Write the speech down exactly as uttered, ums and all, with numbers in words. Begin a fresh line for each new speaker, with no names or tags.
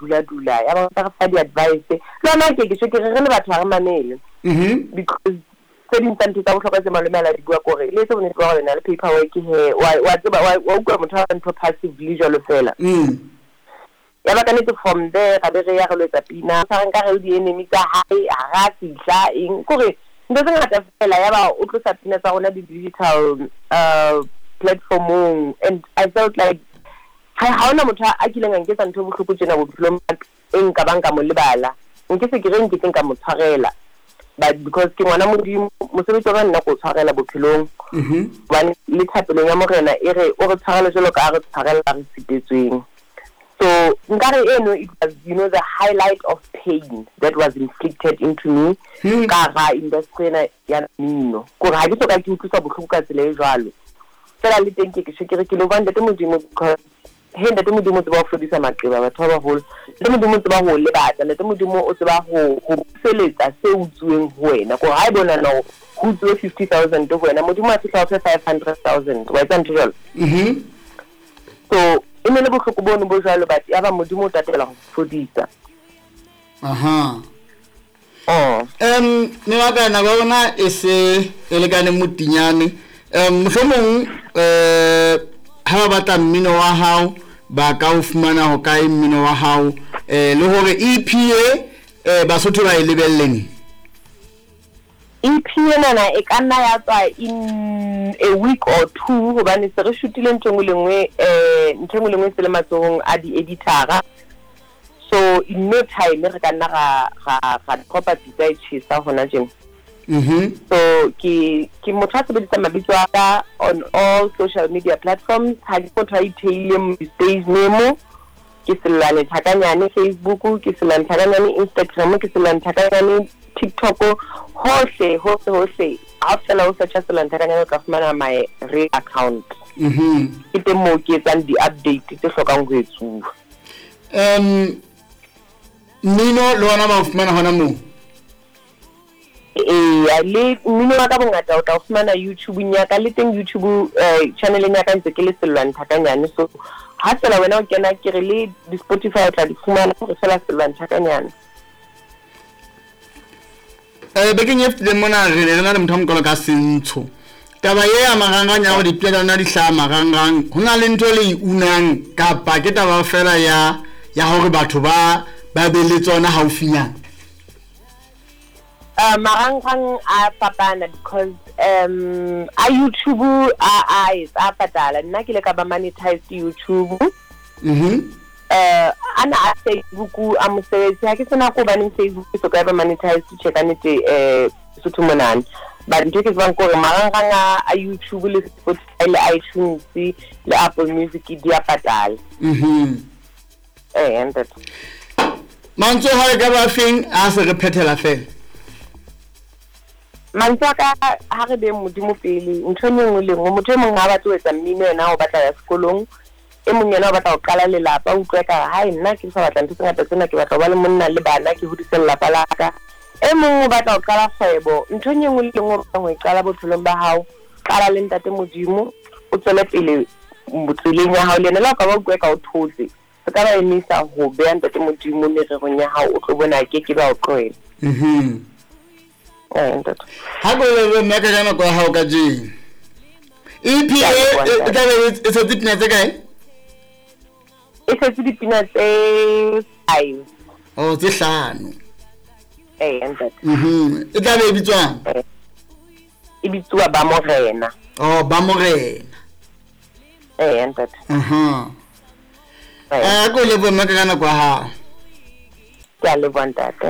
dula dula ya ba re fa di-advice le yona ke ke ke re re le batho ha re mamele
mhm
because tse ding tsa ntho tsa bohlokwa tse malome a la di bua kore le etse bonnete ba hore na le paperwork he wa wa tseba wa wa utlwa motho a ntho passively jwalo fela
mm
ya ba ka nnete from there ra be re ya re lo etsa pina sa re nka re le di-enemy tsa hae ha ra fihla eng kore ntho tse ngata fela ya ba o tlosa pina tsa rona di-digital uh, platformong and I felt like ha ha hona motho a kileng a nketsa ntho e bohloko tjena bophelong ba ka, e nka bang ka mo lebala nke se ke re nke teng ka mo tshwarela but because ke ngwana modimo mosebetsi wa ka nna ko tshwarela bophelong
mhm
hobane le thapelong ya morena e re o re tshwarele jwalo ka ha re tshwarela re sitetsweng so nkare eno it was you know the highlight of pain that was inflicted into me
Hmm.
ka hara industry ena ya mmino kore ha ke soka ke utlwiswa bohloko ka tsela e jwalo fela le teng ke ke tjho ke re ke leboha ntate modimo because he ntate modimo o tseba ho fodisa maqeba batho ba baholo ntate modimo o tseba ho lebatsa ntate modimo o tseba ho ho buseletsa se utsuweng ho wena kore ha e bona hore ho utsuwe fifty thousand ho wena modimo a fihla o fe five hundred thousand wa etsa ntho jwalo
mhm
so e ne le bohloko bono bo jwalo but ya ba modimo o tatela ho fodisa
aha
oh
um mme wa ka nako ya rona e se e lekane motinyane um mohlomong um ha ba batla mmino wa hao ba ka o fumana ho kae mmino wa hao um le hore EP e eh Basotho ba e lebelle neng
EP enana e ka nna ya tswa in a week or two hobane se re shootile ntho e nngwe le nngwe eh ntho e nngwe le nngwe e se le matsohong a di-editora so in no time re ka nna ra ra ra dropa pitsa e tjhesa hona tjena
mhm
so ke ke motho a sebedisang mabitso a ka on all social media platforms ha ke motho a itheileng stage name ke Sellwane Thakanyane Facebook ke Sellwane Thakanyane Instagram ke Sellwane Thakanyane TikTok hohle hohle hohle ha fela o searcha Sellwane Thakanyane o tla fumana my real account
mhm
ke teng moo ke etsang di-update tse hlokang ho etsuwa
um mmino le ona ba o fumana hona moo
eya le mmino wa ka bongata o tla o fumana youtube-eng ya ka le teng youtube eh, channeleng ya ka ntse ke le Sellwane Thakanyane so ha fela wena o kena ke re le di-spotify o tla di fumana hore fela Sellwane Thakanyane
eh bekeng e fetileng mona re ne re na le motho a mokalo ka sentsho taba e ya marangrang ya hore dipina tsa lona di hlaha marangrang ho na le ntho e le e unang kapa ke taba fela ya ya hore batho ba ba be le tsona haufinyana
uh, marangrang a fapana because um a youtube a a etsa a patala nna ke ile ka ba monetized youtube
mhm
uh ana a facebook a mosebetsi ha ke sena ko hobaneng facebook e soka ba monetized tjhe ka nnete eh Sotho monana but ntho e ke tsebang ke hore marangrang a a youtube le spotify le itunes le apple music di a patala
mhm
eh ntate
mantswe ha e ka ba feng a se re phethela fela
mantswe a ka ha re beng modimo pele ntho e nngwe le nngwe motho e mong ha batle ho etsa mmino yena o batla ya sekolong e mong yena o batla ho qala lelapa o utlwe ka hai nna ke sa batla ntho tse ngata tsena ke batla ho ba le monna le bana ke hodise lelapa la ka e mong o batla ho qala kgwebo ntho e nngwe le nngwe o batlang ho e qala bophelong ba hao qala le ntate modimo o tswele pele tseleng ya hao le yena le ha o ka ba utlwe ka o thotse se ka ba emisa ho beha ntate modimo mererong ya hao o tlo bona ke ke ba o tlohela
mhm
eh ntate
ha ko le mme ka ka nako ya hao kajeno EP
Ke a
e
leboha,
e
ntate.
tla be e tshotse dipina tse kae
e setse dipina tse five
oh tse hlano
eh ntate
mhm e tla be e bitswang
Eh, e bitsuwa ba morena
oh ba morena
eh ntate
aha
eh
eh ko leboha mme ka ka nako ya hao
ke a leboha ntate